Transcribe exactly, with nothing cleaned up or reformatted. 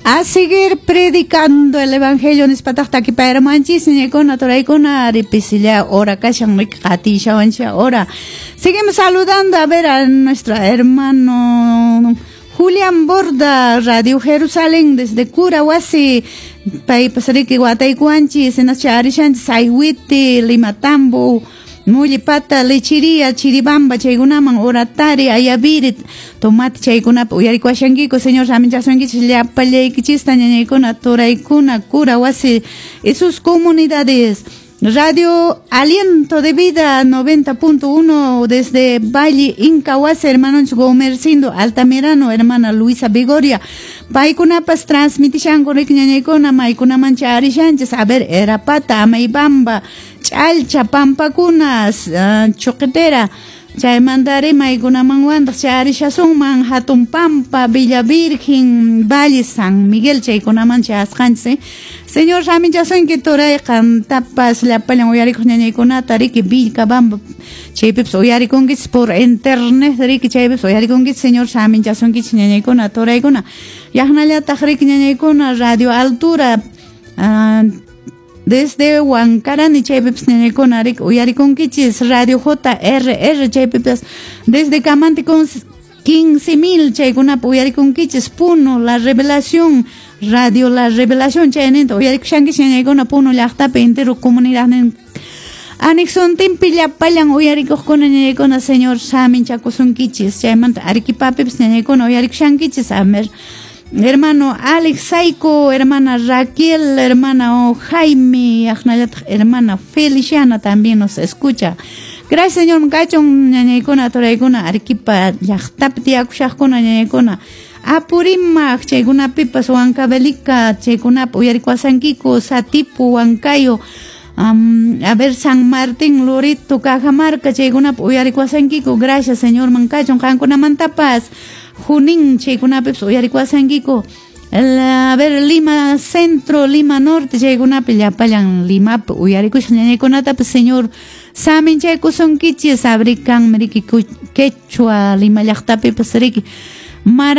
A seguir predicando el evangelio nispataq takipayramanchis ñañaykuna turaykuna ripisilla hora kashan qatishawancha hora. Seguimos saludando a ver a nuestro hermano Julián Borda, Radio Jerusalén desde Curahuasi, paypas riki wataykuwanchis, hinascha arishanchis Sayhuite, Limatambo, Mullipata, Lechería, Chiribamba, chaykunaman, Oratari, Ayaviri, Tomate chaykunapi uyarikuashankiku, Señor saminchasunkichis llapallaykichista ñañaykuna, turaykuna, Curahuasi y sus comunidades. Radio Aliento de Vida noventa punto uno desde Valle Incahuasi, hermanos Gomercindo Altamirano, hermana Luisa Vigoria. Paykunapas transmitishanku riki ñañaykuna, maykunamancha arishanchis, a ver, Erapata, Amaybamba, Ch'alcha, Pampakunas, uh, Choquetera, chaymantari maykunamanwantaq chay arishasunman, Hatun Pampa, Villa Virgen, Valle San Miguel, chaykunaman chayasqanchis, eh? Señor saminchasunki turay qantapas llapallan uyarikuq ñañaykunata riki Vilcabamba chaypipas uyarikunkichis por internet riki chaypipas uyarikunkichis, Señor saminchasunkichis ñañaykuna turaykuna. Yaqnallataq riki ñañaykuna Radio Altura uh, desde Huancarani chaypipas ñañaykuna riki uyarikunkichis, Radio J R R chaypipas desde Camanti con quince mil chaykunapi uyarikunkichis, Puno, La Revelación, Radio La Revelación chayninta uyarikushankichis ñañaykuna Puno llaqtapi entero comunidad anexontinpi llapallan uyarikuqkuna ñañaykuna, Señor saminchakusunkichis, chaymanta Arequipapipas ñañaykuna uyarikushankichis, a ver, hermano Alex Saico, hermana Raquel, hermana Jaime, aqnallataq hermana Feliciana también nos escucha. Gracias, Señor, kachun ñañaykuna turaykuna Arequipa llaqtapi tiyakushaqkuna ñañaykuna, Apurímac chaykunapipas Huancavelica chaykunapi uyarikuasankiku, Satipo, Huancayo, um, a ver, San Martín, Loreto, Cajamarca chaykunapi uyarikuasankiku. Gracias, Señor, mankachun qankunamantapas, Junín chaykunapipas uyarikuasankiku, a ver, Lima Centro, Lima Norte chaykunapi llapallan Limapi uyarikushaq ñañaykunatapas, Señor saminchaykusunkichis, abrikan riki quechua Lima llaqtapipas riki. Mara